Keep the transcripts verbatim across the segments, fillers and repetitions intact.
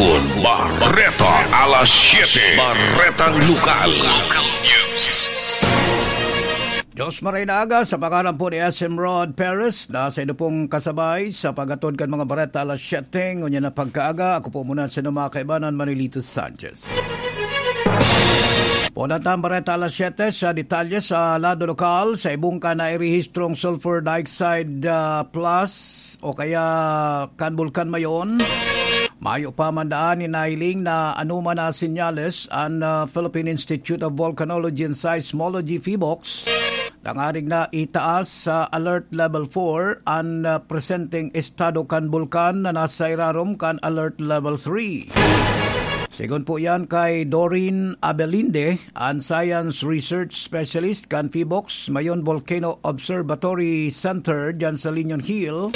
Bareta alas siyete. Baretang Lokal. Local News. Diyos maray na aga, sa pangalan po ni S M Rod Perez, na sa inyo pong kasabay sa paghatod kan mga bareta alas siyete, ngunyan na pagkaaga. Ako po muna sa inyo mga kaibanan, Manolito Sanchez. Pulatan bareta alas siyete sa detalye sa lado lokal. Sa Ibungka, nairehistrong sulfur dioxide, ah, plus o kaya kan Bulkan Mayon. Mayo pa man daan ni nahiling na anoman na senyales an, ah, Philippine Institute of Volcanology and Seismology, PHIVOLCS, tangarig na itaas sa Alert Level four an, ah, presenteng estado kan bulkan na nasa irarom kan Alert Level three. Sigon po yan kay Doreen Abelinde, an Science Research Specialist kan PHIVOLCS Mayon Volcano Observatory Center diyan sa Linion Hill.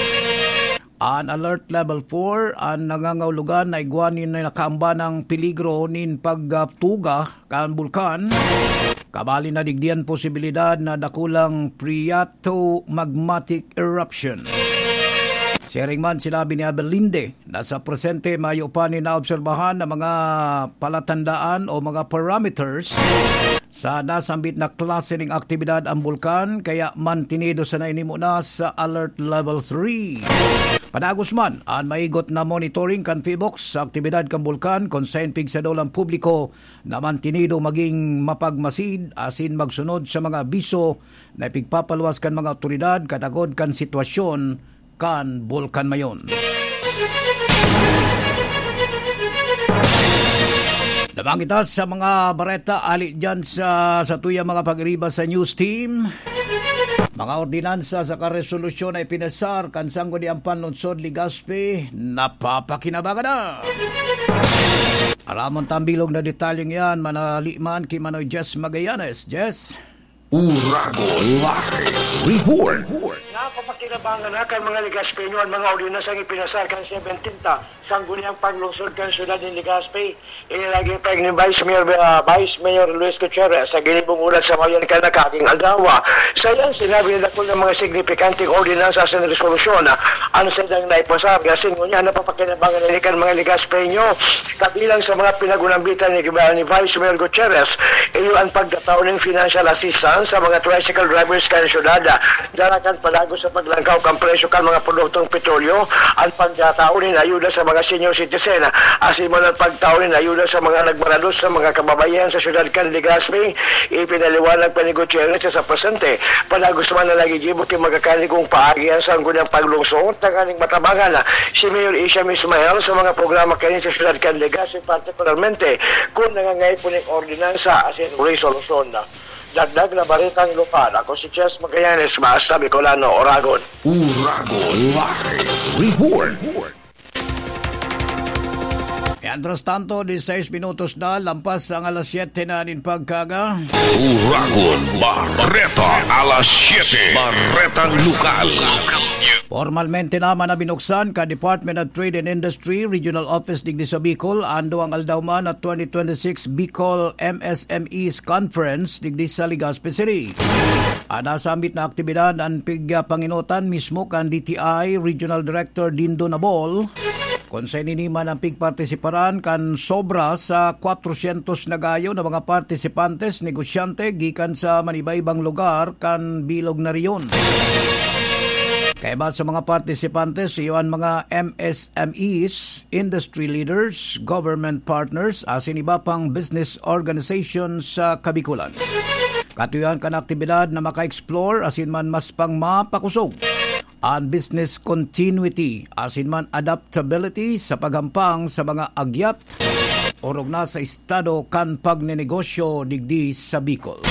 An Alert Level four an nangangahulugan na igwa nin nakaambanang peligro nin pagtuga kan bulkan, kabali na digdi an posibilidad na dakulang phreatomagmatic eruption. Siring man, sinabi ni Abelinde na sa presente mayo pa nin naobserbahan na mga palatandaan o mga parameters sa nasambit na klase ning aktibidad ang bulkan, kaya mantinido sana ini muna sa Alert Level three. Padagos man, an maigot na monitoring kan PHIVOLCS sa aktibidad kan bulkan, kun saen pigsadol ang publiko na mantinido maging mapagmasid asin magsunod sa mga abiso na ipigpapaluwas kan mga awtoridad katakod kan sitwasyon kan Bulkan Mayon. Lamang kita sa mga bareta ali dyan sa, sa tuya mga pag-iriba sa news team. Mga ordinansa sa karesolusyon na ipinasar kan Sangguniang Panlungsod Legazpi, napapakinabangan na. Aramon tambilog na detalyeng yan, manali man ki Manoy Jess Magallanes. Jess? Uragon Live Report. Napapakinabangan na kan mga Legazpeño an mga ordinansang ipinasar kan seventeen ta Sangguniang Panlungsod kan siyudad nin Legazpi. Ini naging pahayag ni Vice Mayor, ah, Vice Mayor Luis Gutierrez sa ginibong hulat sa bayan kan nakaaging aldaw. Sa iyang sinabi na dakul na mga signifikanteng ordinansa sa resolusyon, ah, an saindang naipasar, asin ngunyan napapakinabangan ini kan mga Legazpeño. Kabilang sa mga pinag-unambitan ni, ni Vice Mayor Gutierrez, iyo an pagtatao nin financial assistance sa mga tricycle drivers kan syudad, dara kan padagos sa paglangkaw kan presyo kan mga produktong petrolyo, an pagtatao nin ayuda sa mga senior citizen, asin man an pagtao nin ayuda sa mga nagmarados sa mga kababaihan sa syudad kan Legazpi. Ipinaliwanag pa ni Gutierrez sa presente, padagos man na nagigibo ki magkakanigong paagi an Sangguniang Panlungsod, tanganing matabangan si Mayor Isham Ismael sa mga programa kaini sa syudad kan Legazpi, partikularmente kun nangangaipo nin ordinansa asin resolusyon. Dagdag na baretang lokal, ako si Chess Magallanes, basta Bicolano, Oragon. Uragon Live Report. Mientras tanto, diseis minutos na, lampas ang alas siyete na nin pagkaga. Uragon Bareta, alas siyete. Baretang Lokal. Formalmente naman na binuksan ka Department of Trade and Industry Regional Office digdi sa Bicol, an duwang aldaw man na twenty twenty-six Bicol M S M Es Conference digdi sa Legazpi City. An nasambit na aktibidad an pigpanginotan mismo kan D T I Regional Director Dindo Nabol, kun saen ini man an pigpartisiparan kan sobra sa kwatrosyentos na gayo na mga partisipantes, negosyante gikan sa maniba-ibang lugar kan bilog na rehiyon. Kaiba sa mga partisipantes, iyo an mga M S M Es, industry leaders, government partners, asin iba pang business organization sa Kabikolan. Katuyohan kan aktibidad na maka-explore asin man mas pang mapakosog an business continuity asin man adaptability sa paghampang sa mga agyat orog na sa estado kan pagnenegosyo digdi sa Bicol.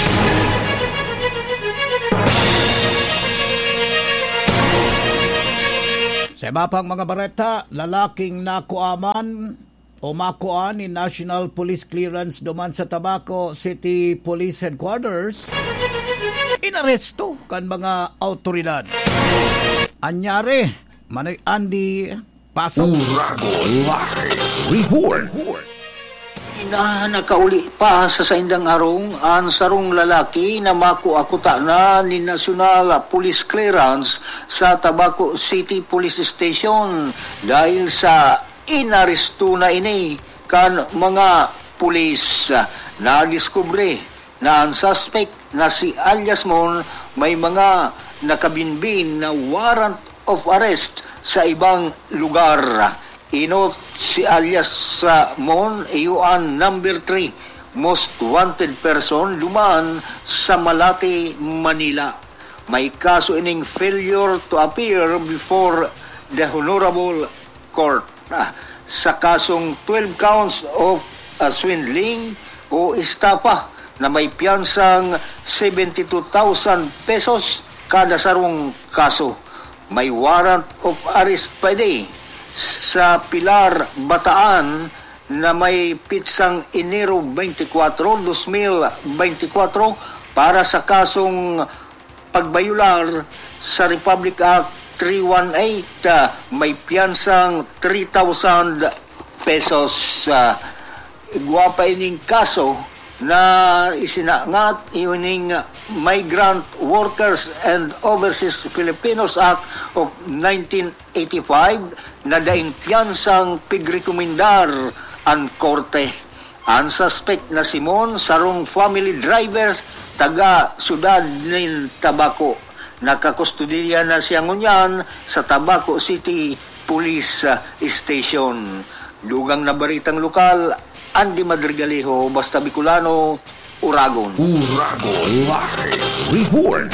Sa iba pang mga bareta, lalaking nakuaman o makuan ni National Police Clearance duman sa Tabaco City Police Headquarters, inaresto kan mga awtoridad. Anyari, Manoy Andy, Pasok. Uragon Live Report. Ina, nakauli pa sa saindang arong an sarong lalaki na makua kuta na nin National Police Clearance sa Tabaco City Police Station dahil sa Inaresto na ini kan mga pulis. Nadiskubre na ang suspect na si alias Mon may mga nakabinbin na warrant of arrest sa ibang lugar. Inot si alias, ah, Mon, iyo an number three most wanted person duman sa Malate, Manila. May kaso ining failure to appear before the Honorable Court, ah, sa kasong twelve counts of, ah, swindling o estafa na may piyansang seventy two thousand pesos kada sarong kaso. May warrant of arrest pa ini sa Pilar, Bataan, na may pitsang Enero twenty-four, dos mil beintikwatro para sa kasong pagbayular sa Republic Act three one eight, ah, may piyansang three thousand pesos. Ah, igwa pa ining kaso na isinangat ining Migrant Workers and Overseas Filipinos Act of nineteen eighty-five na daing piyansang pigrekomendar an korte. An suspek na si Mon, sarong family drivers taga syudad nin Tabaco. Nakakustodiya na siya ngunyan sa Tabaco City Police, ah, Station. Dugang na baretang lokal, Andy Madrigalejo, Basta Bicolano, Uragon. Uragon Live Report.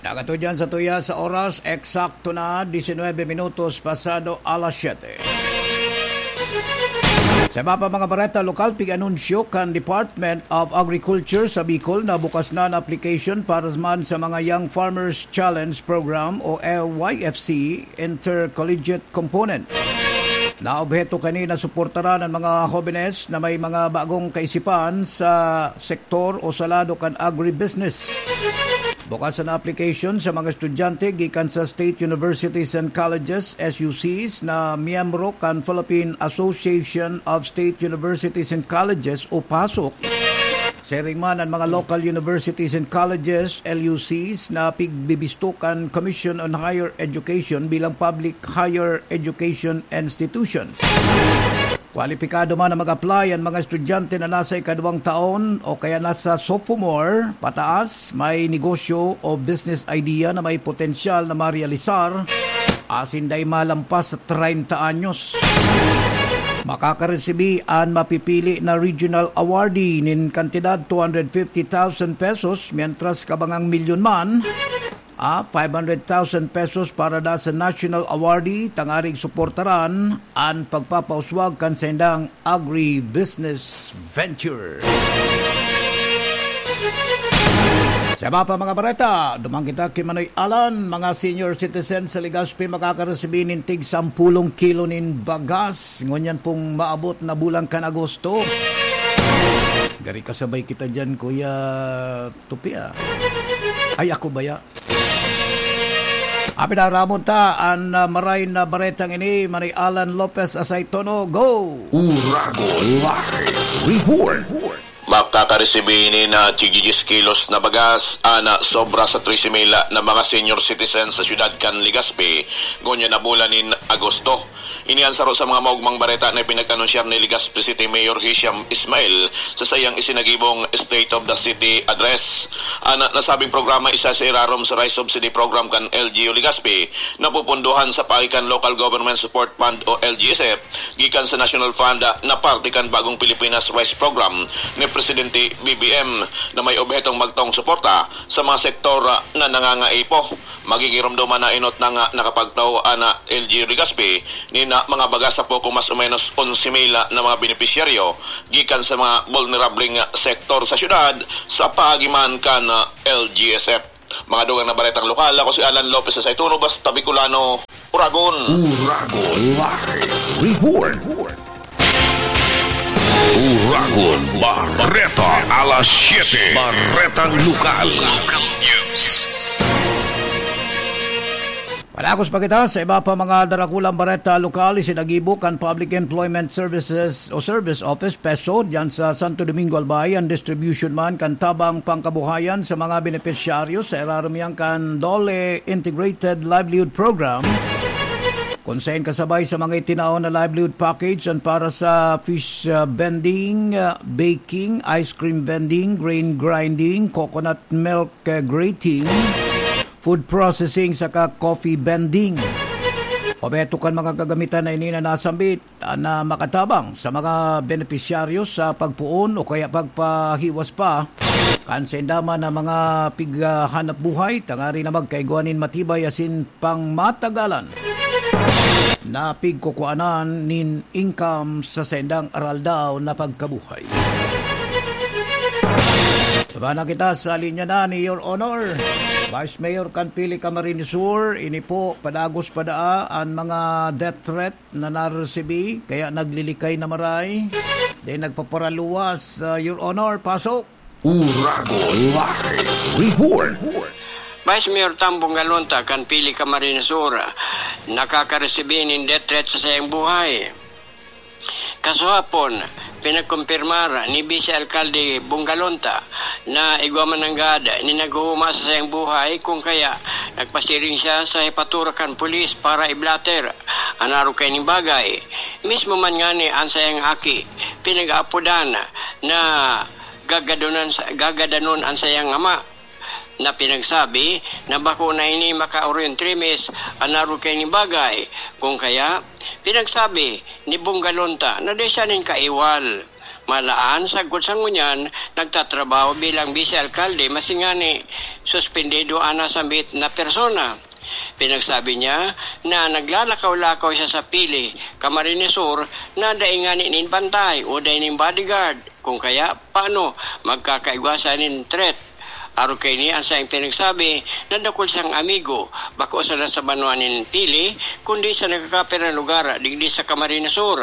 Nagatuyan sa tuya sa oras, eksakto na diecinuebe minutos pasado alas siyete. Sa iba pa mga bareta lokal, pig-anunsyo kan Department of Agriculture sa Bicol na bukas na an application para man sa mga Young Farmers Challenge Program o Y F C Intercollegiate Component. Na obheto kani na suportaran an mga hobenes na may mga bagong kaisipan sa sektor o sa lado kan agribusiness. Bukas an application sa mga estudyante gikan sa State Universities and Colleges, S U Cs, na miyembro kan Philippine Association of State Universities and Colleges o PASUC. Siring man an mga local universities and colleges, L U Cs, na pigbibisto kan Commission on Higher Education bilang public higher education institutions. Kwalipikado man na mag-apply an mga estudyante na nasa ikaduwang taon o kaya nasa sophomore pataas, may negosyo o business idea na may potensyal na marealisar, asin dai malampas sa treinta anyos. Makakaresibi an mapipili na regional awardee nin kantidad two hundred fifty thousand pesos, mientras kabangang milyon man, ah, five hundred thousand pesos para da sa national awardee, tangaring suportaran an pagpapauswag kan saindang agribusiness venture. Sa iba pa mga bareta, duman kita ki Manoy Alan, mga senior citizen sa Legazpi makakaresibi nin tig sampulong kilo nin bagas. Ngunyan pong maabot na bulan kan Agosto. Gari kasabay kita dyan, Kuya Tupi, ah. Ay, ako baya? Apinaramon ta an, ah, maray na baretang ini, Manoy Alan Lopez Asaytono. Go! Uragon Live Report. Makakaresibi nin tig-diyes kilos na bagas an sobra sa trese mil na mga senior citizens sa siyudad kan Legazpi, ngunyan na bulan nin Agosto. Ini an saro sa mga maogmang bareta na ipinag-anunsyar ni Legazpi City Mayor Hisham Ismail sa saiyang isinagibong State of the City Address. An nasabing programa isa sa irarom sa Rice Subsidy Program kan L G U Legazpi, napupundohan sa paagi kan Local Government Support Fund o L G S F, gikan sa National Fund na parte kan Bagong Pilipinas Rice Program ni Presidente B B M, na may obhetong magtaong suporta sa mga sektor na nangangaipo. Magigiromdoman na inot na nga nakapagtao an L G Legazpi nin mga bagas sa poko mas o menos onse mil na mga benepisyaryo gikan sa mga bulnerableng sektor sa syudad sa paagi man kan L G S F. Mga dugang na baretang lokal, ako si Alan Lopez sa Saituno, Basta Bicolano, Uragon. Uragon Live Report. Uragon Bareta, alas siyete. Baretang lokal. Local news. Padagos pa kita sa iba pa mga darakulang bareta lokal. Isinagibo kan Public Employment Services o Service Office, PESO, diyan sa Santo Domingo, Albay, an distribution man kan tabang pangkabuhayan sa mga benepisyaryo sa irarom iyan kan DOLE Integrated Livelihood Program, kun saen kasabay sa mga itinao na livelihood package an para sa fish, ah, vending, ah, baking, ice cream vending, grain grinding, coconut milk, ah, grating, food processing saka coffee vending. Obheto kan mga kagamitan na ini na nasambit, ah, na makatabang sa mga benepisyaryo sa pagpoon o kaya pagpahiwas pa kan sainda man na mga pighanap buhay, tangari na magkaigwa nin matibay asin pangmatagalan na pigkukuanan nin income sa saindang araldaw na pagkabuhay. Bana kita sa linya na ni Your Honor, Vice Mayor kan Pili Camarines Sur. Ini po, padagos pa daa an mga death threat na naresibi, kaya naglilikay na maray. Then nagpaparaluwas, ah, Your Honor, pasok. Uragon Live Report. Vice Mayor Tambong Galonta kan Pili Camarines Sur, nakakaresibi nin death threat sa saiyang buhay. Kasuhapon, pinagkumpirmar ni Vice Alkalde Bong Galonta na igwa man nanggad nin naghuhuma sa saiyang buhay, kung kaya nagpasiring siya sa hepatura kan pulis para i-blotter an arog kaining bagay. Mismo man ngani an saiyang aki, pinag-aapodan na gagadonan sa, gagadanon an saiyang ama, na pinagsabi na bako na ini makaoryon trimis an arog kaining bagay. Kung kaya, pinagsabi ni Bong Galonta na dai siya nin kaiwal. Malaan, sagkod sa ngunyan, nagtatrabaho bilang bise alkalde, masingani, suspendido an nasambit na persona. Pinagsabi niya na naglalakaw-lakaw siya sa Pili, Camarines Sur, na dai ngani nin bantay o dai nin bodyguard. Kung kaya, paano magkakaigwa siya nin threat? Arog kaini an saiyang pinagsabi na dakul siyang amigo, bako sana sa banwa nin Pili, kundi sa nagkakaperang lugar digdi sa Camarines Sur.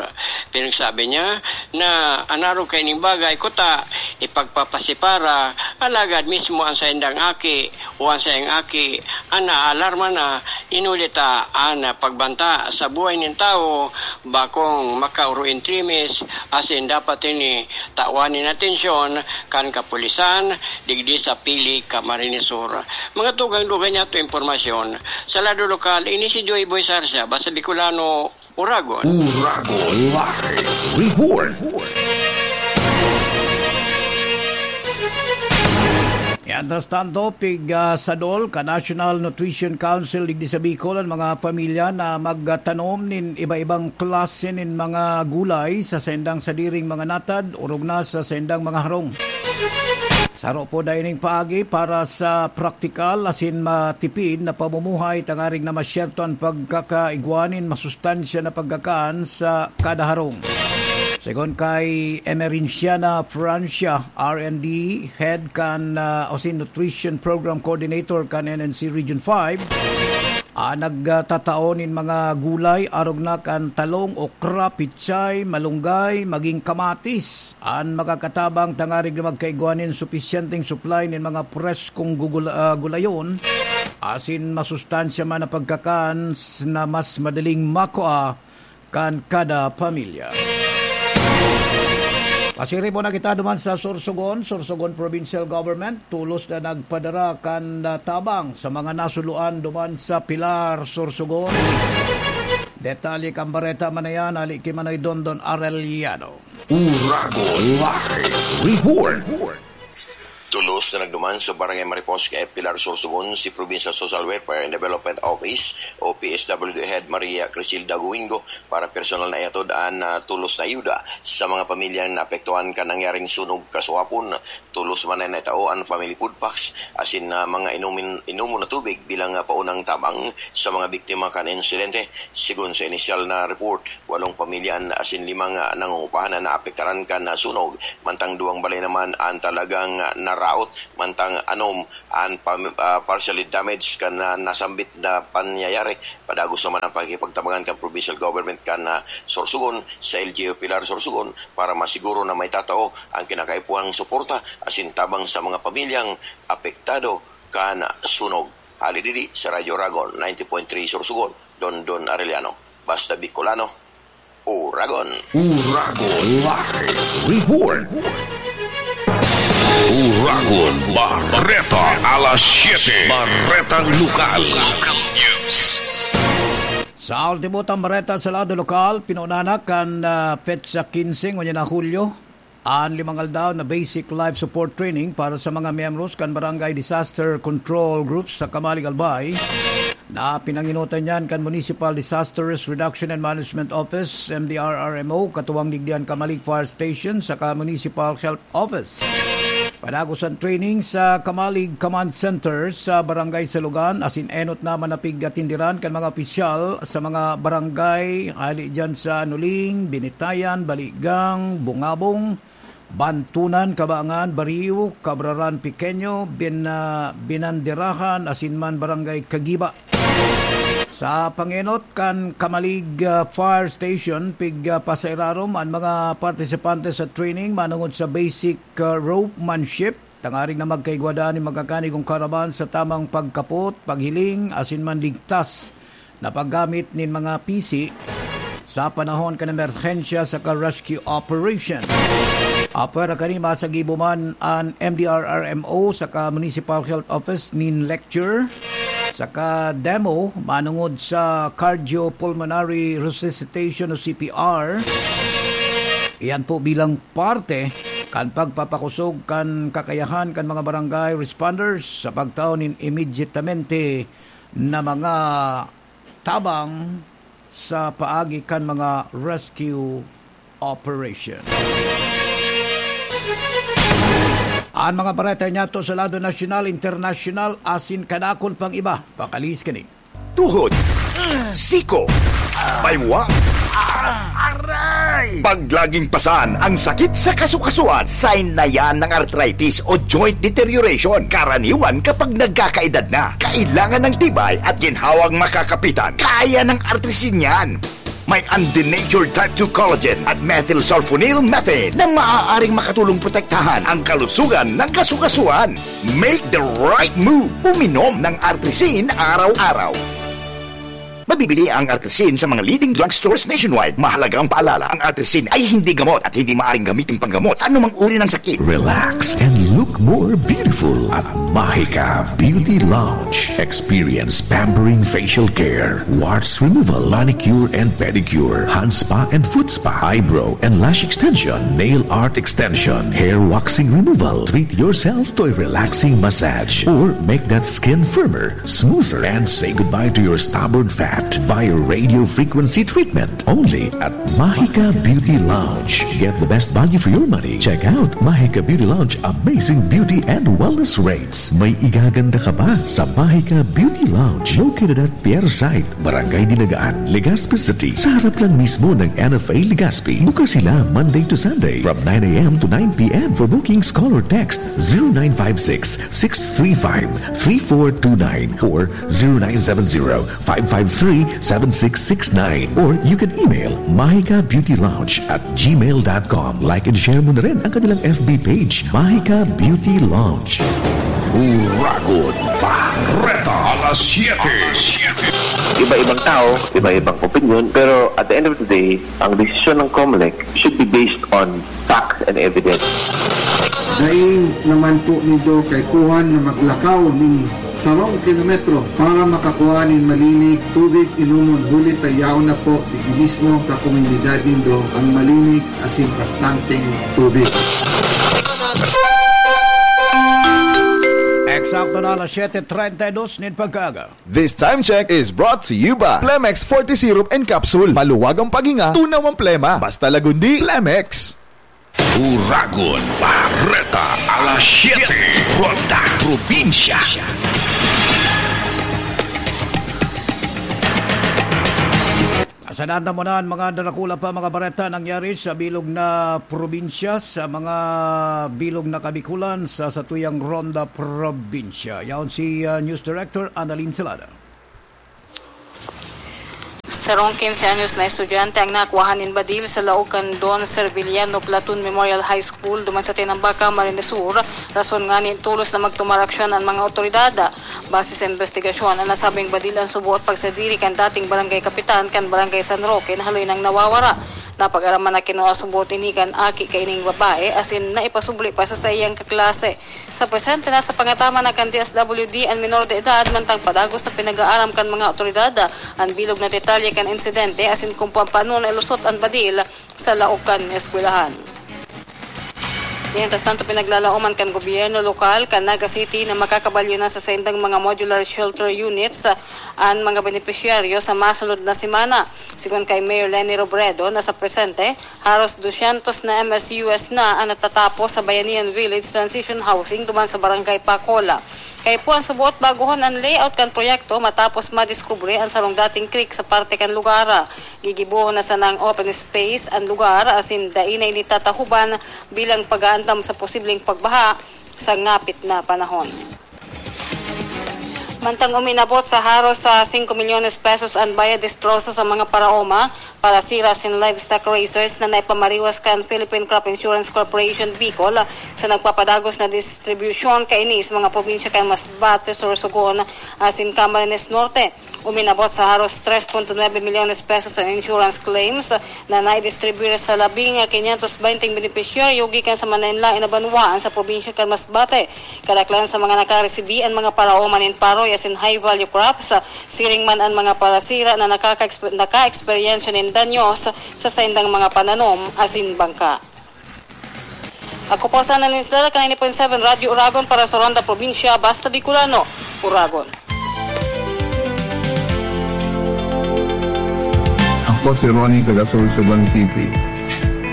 Pinagsabi niya na an arog kaining bagay kuta ipagpapasipara, alagad mismo an saindang aki o an saiyang aki an naaalarma na, inuli ta an pagbanta sa buhay nin tawo bakong makaoro nin trimis, asin dapat ini tawan nin atensyon kan kapulisan digdi sa Pili, Camarines Sur. Mga tugang-dugang niyato impormasyon. Sa lado lokal, ini si Joy Boy Sarsia, Basta Bicolano, Uragon. Uragon Live Report. Mientras tanto, pig, ah, sadol ka National Nutrition Council digdi sa Bicol an mga pamilya na magtanom nin iba-ibang klase nin mga gulay sa saindang sadiring mga natad, orog na sa saindang mga harong. Saro po dai ning paagi para sa praktikal asin matipid na pamumuhay, tangarig na masyerto an pagkakaigwa nin masustansya na pagkakan sa kada harong. Segun kay Emerenciana Francia, R and D Head kan, ah, o si Nutrition Program Coordinator kan N N C Region five, ah, nagtatao nin mga gulay, arog na kan talong, okra, pichay, malunggay, maging kamatis, an makakatabang tangarig na magkaigwa nin supisyenteng supply nin mga preskong gugul-, ah, gulayon, asin masustansya man na pagkakan s-, na mas madaling makua kan kada pamilya. Pasirib na kita duman sa Sorsogon, Sorsogon Provincial Government, tolos na nagpadara kan, ah, tabang sa mga nasuluan duman sa Pilar, Sorsogon. Detalye kan bareta man na yan, hali ki Manoy Dondon Arellano. Uragon Live Report. Tolos na nagduman sa Barangay Mariposca, Pilar, Sorsogon, si Provincial Social Welfare and Development Office o P S W D Head Maria Crisilda Guingo para personal na ihatod an, ah, tolos na ayuda sa mga pamilyang naapektuhan kan nangyaring sunog kasuhapon. Tolos man na naitao an family food packs asin, ah, mga inumin, inomon na tubig bilang, ah, paunang tabang sa mga biktima kan insidente. Segun sa inisyal na report, walong pamilya an asin limang, ah, nangungupahan an naapektaran kan, ah, sunog, mantang duwang balay naman an talagang, ah, naraot, mantang anom an pam-, ah, partially damaged kan, ah, nasambit na pangyayari. Padagos naman ang pakikipagtabangan kan provincial government kan, ah, Sorsogon sa L G U Pilar, Sorsogon para masiguro na maitatao ang kinakaipuhang suporta asin tabang sa mga pamilyang apektado kan sunog. Hali didi sa Radyo Oragon, ninety point three Sorsogon, Dondon Arellano. Basta Bicolano, Oragon. Oragon Live Report. Oragon Bareta, alas siyete. Baretang Lokal. Local News. Sa ultimo tang bareta sa lado lokal, pinuna na kan, ah, petsa quince ngunyan na Hulyo, an limang aldaw na basic life support training para sa mga miyembros kan Barangay Disaster Control Groups sa Camalig, Albay, na pinangenotan niyan kan Municipal Disaster Risk Reduction and Management Office, M D R R M O, katuwang digdi an Camalig Fire Station saka Municipal Health Office. Padagos an training sa Camalig Command Center sa Barangay Salugan, asin enot na manapig atindiran kan mga opisyal sa mga barangay, hali diyan sa Nuling, Binitayan, Baligang, Bungabong, Bantunan, Kabangan, Bariw, Cabraran Pequeño, Bin-, ah, Binanderahan, asin man Barangay Kagiba. Sa pangenot kan Camalig, ah, Fire Station, pig, ah, pasairarom an mga partisipante sa training manungod sa basic, ah, ropemanship, tangarig na magkaigwa nin magkakanigong karaban sa tamang pagkapot, paghiling, asin man ligtas na paggamit nin mga pisi sa panahon kan emerhensya saka rescue operation. Apwera kani, masagibo man an M D R R M O saka Municipal Health Office nin lecture saka demo manungod sa cardiopulmonary resuscitation o C P R. Iyan po bilang parte kan pagpapakosog kan kakayahan kan mga barangay responders sa pagtao nin immediatamente na mga tabang sa paagi kan mga rescue operation. An mga bareta niyato sa lado nasyonal, internasyonal, asin kadakul pang iba. Pakalihis kini. Tuhod, siko, baywa, aray! Pag laging pasan ang sakit sa kasukasuan, sign na yan ng arthritis o joint deterioration. Karaniwan kapag nagkakaedad na, kailangan ng tibay at ginhawang makakapitan. Kaya ng Artrisin yan. May undenatured type two collagen at methylsulfonyl methane na maaaring makatulong protektahan ang kalusugan ng kasukasuan. Make the right move. Uminom ng Artrisin araw-araw. Mabibili ang Artrisin sa mga leading drugstores nationwide. Mahalagang paalala, ang Artrisin ay hindi gamot at hindi maaaring gamitin panggamot sa anumang uri ng sakit. Relax and look more beautiful at Mahika Beauty Lounge. Experience pampering facial care, warts removal, manicure and pedicure, hand spa and foot spa, eyebrow and lash extension, nail art extension, hair waxing removal. Treat yourself to a relaxing massage or make that skin firmer, smoother, and say goodbye to your stubborn fat via radio frequency treatment. Only at Mahika Beauty Lounge. Get the best value for your money. Check out Mahika Beauty Lounge Amazing Beauty and Wellness Rates. May igaganda ka ba sa Mahika Beauty Lounge? Located at Pier Site, Barangay Dinagaan, Legazpi City. Sa harap lang mismo ng N F A Legazpi. Bukas sila Monday to Sunday from nine a m to nine p m. For bookings, call or text zero nine five six, six three five, three four two nine or zero nine seven zero, five five three, seven six six nine. Or you can email mahika beauty lounge at gmail dot com. Like and share mo na rin ang kanilang F B page, Mahika Beauty Lounge. Uragon Bareta, alas siyete. Iba-ibang tao, iba-ibang opinion, pero at the end of the day, ang desisyon ng Comelec should be based on facts and evidence. Dai naman po nindo kaipuhan na maglakaw nin sarong kilometro para makakua nin malinig tubig inomon, huli ta yaon na po digdi mismo sa komunidad nindo ang malinig asin bastanteng tubig. Eksakto na alas siyete treinta y dos nin pagkaaga. This time check is brought to you by Plemex forty Syrup and Capsule. Maluwag ang paghinga, tunaw ang plema. Basta Lagundi, Plemex. Uragon Bareta, alas siyete, Ronda Probinsya. Asananda mo na an mga darakula pa, mga bareta nangyari sa bilog na probinsya, sa mga bilog na kabikulan sa satuyang Ronda Probinsya. Yaon si, ah, News Director Annalyn Salada. Sarong quince anyos na estudyante ang nakuwahan nin badil sa laog kan Don Serviliano Platoon Memorial High School duman sa Tinambaca, Camarines Sur, rason ngani tolos na magtumar aksyon an mga awtoridad. Base sa imbestigasyon, an nasabing badil an suboot pagsadiri kan dating barangay kapitan kan Barangay San Roque na haloy nang nawawara. Napag-araman na kinua suboot ini kan aki kaining babae, asin naipasubli pa sa saiyang kaklase. Sa presente, nasa pangataman na kan D S W D an minor de edad, mantang padagos na pinag-aaram kan mga awtoridad an bilog na detalye kan insidente asin kung paano nailusot an badil sa laog kan eskwelahan. Mientras tanto, pinaglalaoman kan gobyerno lokal kan Naga City na makakabalyo na sa saindang mga modular shelter units, ah, an mga benepisyaryo sa masunod na semana. Sigon kay Mayor Leni Robredo, na sa presente, haros dosyentos na M S U S na an natatapos sa Bayanihan Village Transition Housing duman sa Barangay Pacola. Kaipuhan suboot bagohon an layout kan proyekto matapos madiskubre an sarong dating creek sa parte kan lugar. Gigibohon na sanang open space an lugar asin dai na ini tatahoban bilang pag-aandam sa posibleng pagbaha sa ngapit na panahon. Mantang uminabot sa haros sa singko milyones pesos an bayad destroso sa mga paraoma, parasira asin livestock raisers na naipamariwas kan Philippine Crop Insurance Corporation Bicol sa nagpapadagos na distribusyon kaini sa mga probinsya kan Masbate, Sorsogon asin Camarines Norte. Uminabot sa haros tres punto nuebe milyones pesos an insurance claims na naidistribuyar sa labing quinientos benteng benepisyaryo gikan sa manlaen-laen na banwaan sa probinsya kan Masbate. Kadaklan sa mga nakaresibi an mga paraoma nin paroy asin high-value crops, siring man an mga parasira na nakaka-exper-, naka-eksperyensya nin danyos sa saindang mga pananom asin bangka. Ako po sana nin Stella, kan ninety point seven Radyo Uragon para sa Ronda Probinsya, Basta Bicolano, Uragon. Ako si Ronnie, taga Sorsogon City.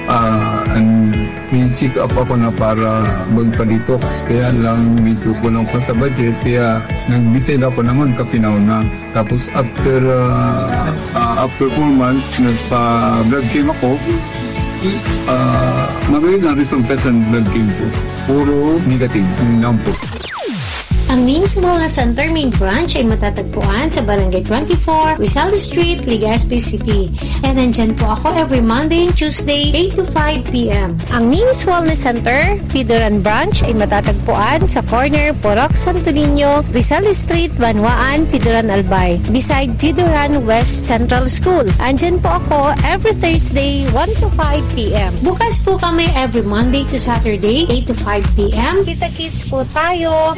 Ah, an, may check up ako na para magpa-detox, kaya lang medyo kulang pa sa budget, kaya nag-decide ako na magkapinaw na. Tapos after, ah, ah, after four months, nagpa-blood chem ako. Ah, magayon ang resulta sa blood chem ko. Puro negative, yun lang po. Ang Ming's Wellness Center main branch ay matatagpuan sa Barangay twenty-four, Rizal Street, Legazpi City. And nandyan po ako every Monday and Tuesday, eight to five p.m. Ang Ming's Wellness Center, Pidoran Branch ay matatagpuan sa corner Purok Santo Niño, Rizal Street, Banwaan, Pidoran Albay, beside Pidoran West Central School. Andyan po ako every Thursday, one to five p.m. Bukas po kami every Monday to Saturday, eight to five p.m. Kita-kits po tayo!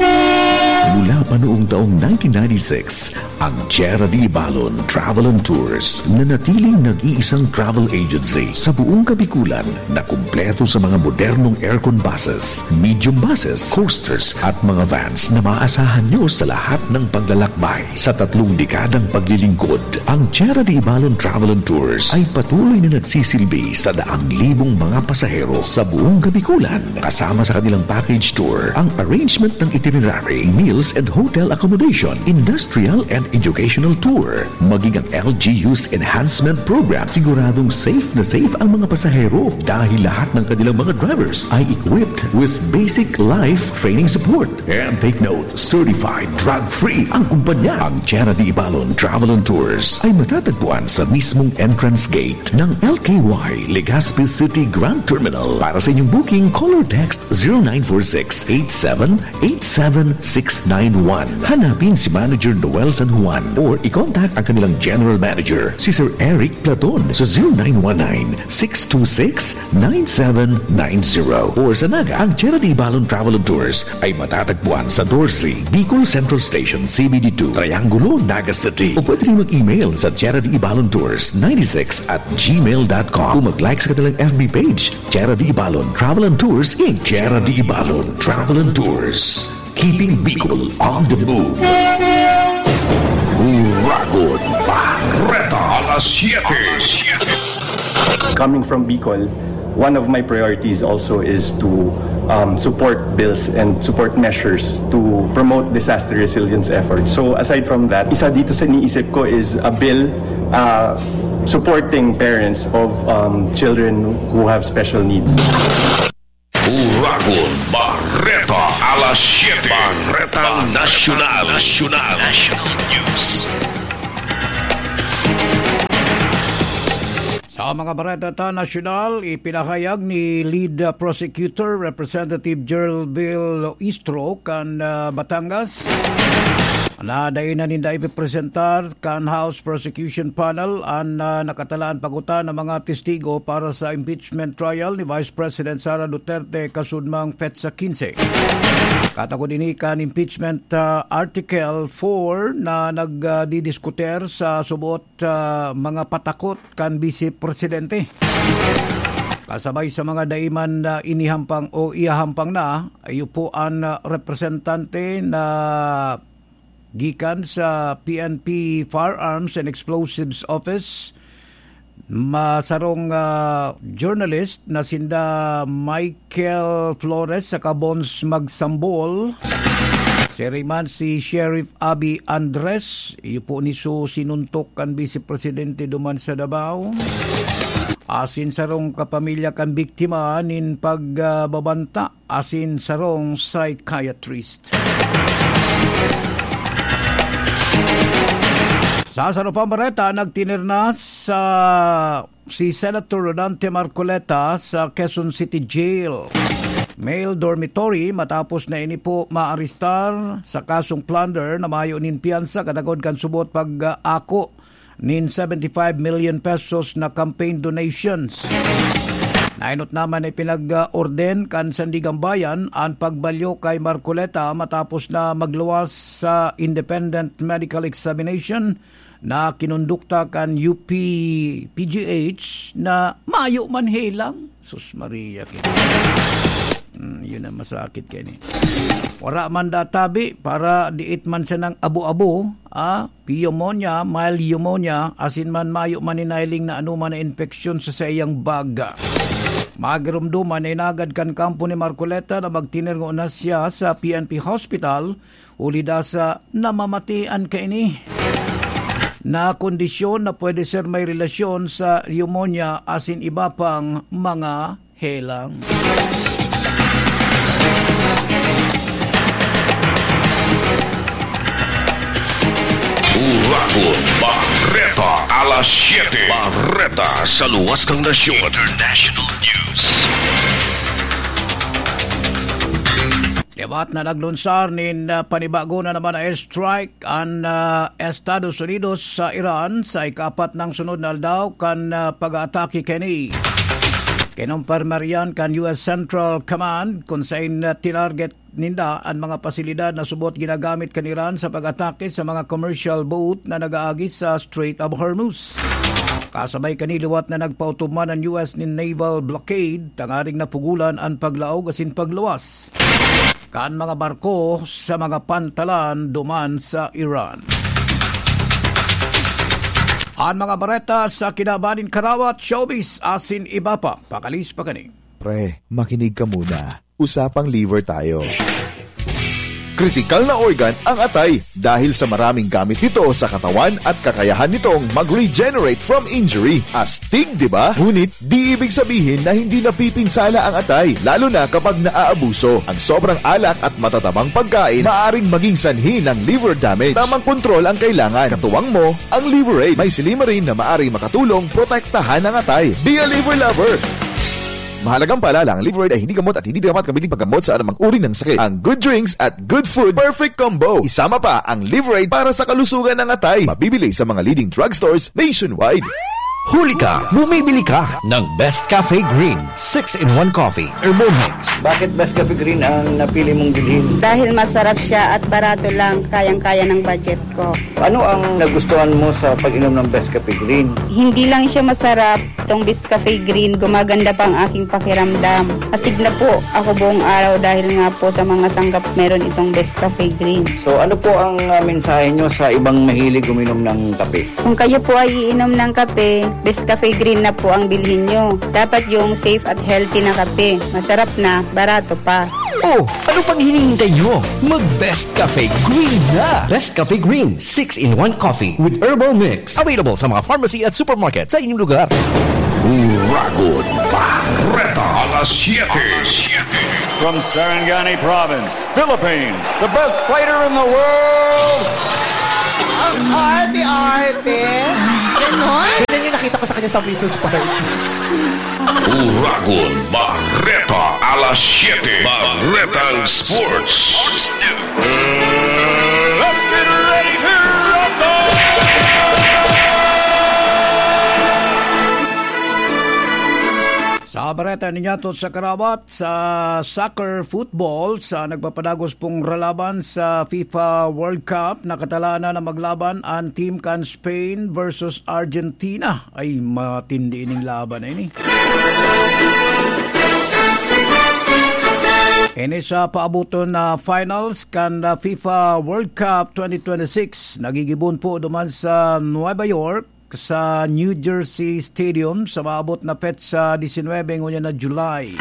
Mula pa noong taong nineteen ninety-six, ang Tierra de Ibalon Travel and Tours nanatiling nag-iisang travel agency sa buong Kabikulan na kumpleto sa mga modernong aircon buses, medium buses, coasters at mga vans na maaasahan nyo sa lahat ng paglalakbay. Sa tatlong dekadang paglilingkod, ang Tierra de Ibalon Travel and Tours ay patuloy na nagsisilbi sa daang libong mga pasahero sa buong Kabikulan. Kasama sa kanilang package tour ang arrangement ng itinerary, meals and hotel accommodation, industrial and educational tour, maging ang L G U's enhancement program. Siguradong safe na safe ang mga pasahero dahil lahat ng kanilang mga drivers ay equipped with basic life training support. And take note, certified drug-free ang kumpanya. Ang Tierra de Ibalon Travel and Tours ay matatagpuan sa mismong entrance gate ng L K Y Legazpi City Grand Terminal. Para sa inyong booking, call or text zero nine four six eight seven eight seven six nine one. Hanapin si Manager Noel San Juan or i-contact ang kanilang General Manager, si Sir Eric Platon, sa zero nine one nine six two six nine seven nine zero. Or sa Naga, ang Tierra de Ibalon Travel and Tours ay matatagpuan sa Dorsey, Bicol Central Station, C B D two, Triangulo, Naga City. O pwede rin mag-email sa Tierra de Ibalon Tours ninety-six at gmail dot com o mag-like sa kanilang F B page, Tierra de Ibalon Travel and Tours, Incorporated. Tierra de Ibalon Travel and Tours. Keeping Bicol on the move. Uragon Bareta, alas siyete. Coming from Bicol, one of my priorities also is to um, support bills and support measures to promote disaster resilience efforts. So aside from that, isa dito sa iniisip ko is a bill uh, supporting parents of um, children who have special needs. Uragon Bareta, alas siyete. Bareta Nasyonal. Nasyonal. National News. Sa mga bareta ta nasyonal, ipinahayag ni Lead Prosecutor Representative Geraldville Loistro kan ah, Batangas na dai na ninda ipipresentar kan House Prosecution Panel an, ah, nakatalaan pagutan na mga testigo para sa impeachment trial ni Vice President Sara Duterte kasudmang petsa quince. Katagod ini kan impeachment, ah, Article four na nagdidiskutir sa subot, ah, mga patakot kan Bise Presidente. Kasabay sa mga daiman na inihampang o ihahampang na, iyo po an, ah, representante na gikan sa P N P Firearms and Explosives Office, masarong, ah, journalist na sinda Michael Flores saka Bons Magsambol. Siring man si Sheriff Abby Andres, iyo po ni su sinuntok kan Bise Presidente duman sa Davao. Asin sarong kapamilya kan biktima nin pagbabanta asin sarong psychiatrist. Sa sarong pambareta, nagtinirna sa si Senator Rodante Marcoleta sa Quezon City Jail. Male dormitory matapos na ini po maarestar sa kasong plunder na mayo nin piyansa katagod kan subot pag-ako nin seventy-five million pesos na campaign donations. Nainot naman na ipinag-orden kan Sandigang Bayan an pagbalyo kay Marcoleta matapos na magluwas sa independent medical examination na kinondukta kan U P P G H na mayo man helang. Sus Maria, ki-, Hmm, yun ang masakit kaini. Wara man databi para diit man siya ng abo-abo, ah, pneumonia, mild pneumonia, asin man mayo man hinihiling na anoman na infeksyon sa saiyang baga. Magirumduman na inagad kan kampo ni Marcoleta na magtinirngo na siya sa P N P Hospital, huli da sa namamatian kaini na kondisyon na pwede ser may relasyon sa pneumonia asin iba pang mga helang. Uragon Bareta, alas siyete. Bareta sa luwas kan nasyon. International News. Liwat na naglunsar nin, ah, panibago na naman na airstrike an, ah, Estados Unidos sa Iran sa ikaapat nang sunod na aldaw kan, ah, pag-aatake kini. Kinumpirma riyan kan U S Central Command kun saen na tinarget ninda an mga pasilidad na subot ginagamit kan Iran sa pag-atake sa mga commercial boat na nag-aagi sa Strait of Hormuz. Kasabay kani liwat na nagpautob man an U S nin naval blockade tanganing napugulan an paglaog asin pagluwas kan mga barko sa mga pantalan duman sa Iran. An mga bareta sa kinaban nin karawat, showbiz asin iba pa. Pakalis pa kani. Pre, makinig ka muna. Usapang liver tayo. Kritikal na organ ang atay dahil sa maraming gamit nito sa katawan at kakayahan nitong mag-regenerate from injury. Astig, di ba? Ngunit, di ibig sabihin na hindi napipinsala ang atay, lalo na kapag naaabuso. Ang sobrang alak at matatabang pagkain maaring maging sanhi ng liver damage. Tamang kontrol ang kailangan. Katuwang mo ang Liver Aid. May silymarin na maaring makatulong protektahan ang atay. Be a liver lover! Mahalagang paalala, ang Liver Aid ay hindi gamot at hindi dapat gamitin paggamot sa anumang uri ng sakit. Ang good drinks at good food, perfect combo. Isama pa ang Liver Aid para sa kalusugan ng atay. Mabibili sa mga leading drugstores nationwide. Huli ka, bumibili ka ng Best Cafe Green six-in-one Coffee Herbal Mix. Bakit Best Cafe Green ang napili mong bilhin? Dahil masarap siya at barato lang, kayang-kaya ng budget ko. Ano ang nagustuhan mo sa pag-inom ng Best Cafe Green? Hindi lang siya masarap, itong Best Cafe Green, gumaganda pa ang aking pakiramdam. Astig na po, ako buong araw dahil nga po sa mga sangkap meron itong Best Cafe Green. So, ano po ang, ah, mensahe nyo sa ibang mahilig uminom ng kape? Kung kayo po ay iinom ng kape, Best Cafe Green na po ang bilhin nyo. Dapat yung safe at healthy na kape. Masarap na, barato pa. Oh, ano pang hinihintay nyo? Mag Best Cafe Green na! Best Cafe Green, six-in-one Coffee with Herbal Mix. Available sa mga pharmacy at supermarket sa inyong lugar. Uragon Bareta, alas siyete. From Sarangani Province, Philippines, the best fighter in the world. Ang arte-arte. Ganon? Ganyan yung nakita ko sa kanya sa Misus Park. Uragon Bareta, alas siyete. Baretang Sports. Sports News. Let's get ready. Bareta ninyato sa karawat sa soccer football sa nagpapadagos pong ralaban sa FIFA World Cup. Nakatalanan na maglaban an team kan Spain versus Argentina. Ay, matindi ining laban na ini. Ini sa paabuton na finals kan, ah, FIFA World Cup twenty twenty-six. Nagigibon po duman sa Nueva York, sa New Jersey Stadium sa maabot na petsa disinwebe ngunyan na July.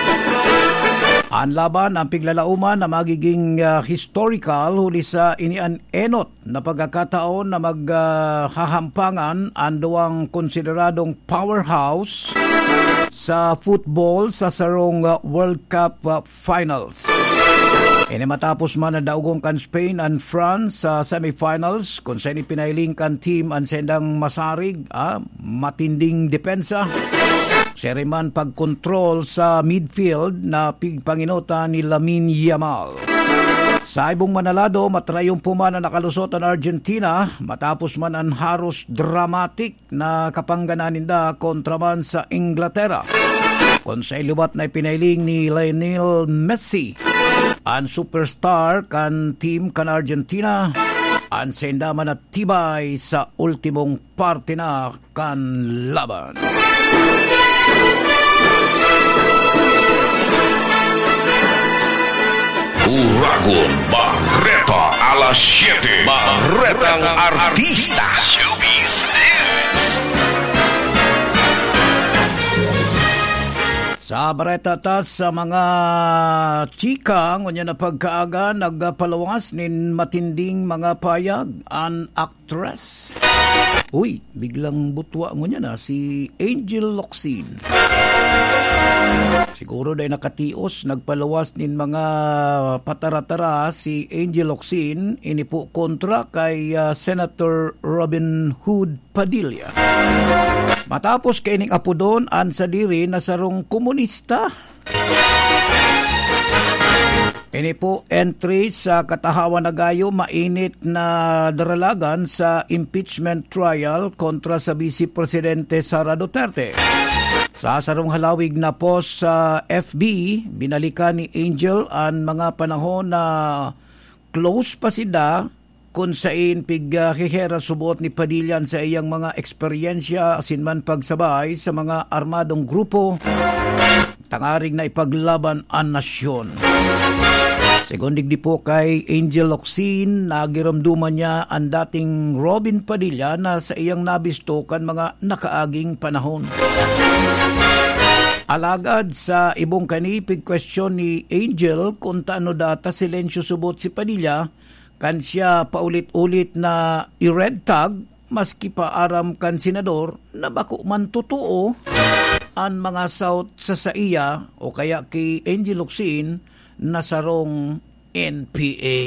An laban, ang piglalauman na magiging, ah, historical huli sa ini an enot na pagkakataon na mag, ah, hahampangan an duwang konsideradong powerhouse sa football sa sarong, ah, World Cup, ah, finals. Ini matapos man na daogon kan Spain an France sa semifinals, kun saen ipinailing kan team an sendang masarig, ah, matinding depensa. Siring man pagkontrol sa midfield na pigpanginota ni Lamine Yamal. Sa ibong manalado, matrayumpo man na nakalusot an Argentina matapos man an haros dramatic na kapangganan ninda kontra man sa Inglaterra. Kun sa iliwat na ipinailing ni Lionel Messi, an superstar kan team kan Argentina, an senda man natibay sa ultimong parte na kan laban. Uragon Bareta alas siyete. Barretang Artista. Showbiz News. Sa bareta ta sa mga chika, ngunyan na pagkaaga, nagpalawas nin matinding mga payag an actress. Uy, biglang butwa ngunyan na si Angel Locsin. Siguro dahil nakatios, nagpalawas nin mga patara-tara si Angel Locsin, ini po kontra kay, ah, Senator Robin Hood Padilla. Matapos kaining apodon an sadiri na sarong komunista. Ini po entry sa katahawan na gayo, mainit na daralagan sa impeachment trial kontra sa Vice Presidente Sara Duterte. Sa sarong halawig na post sa F B, binalikan ni Angel an mga panahon na close pa sinda, kun saen pig, ah, hihera subot ni Padilla sa iyang mga eksperyensya asin man pagsabay sa mga armadong grupo tangarig na ipaglaban an nasyon. Segun digdi po kay Angel Locsin, nagiromdoman niya an dating Robin Padilla na sa iyang nabisto kan mga nakaaging panahon. Alagad sa ibong kani, pigkwestiyon ni Angel kun tano data silensyo subot si Padilla, kan siya paulit-ulit na i-red tag, maski pa aram kan senador na bako man totoo an mga saot sa saiya o kaya ki Angel Locsin na sarong N P A.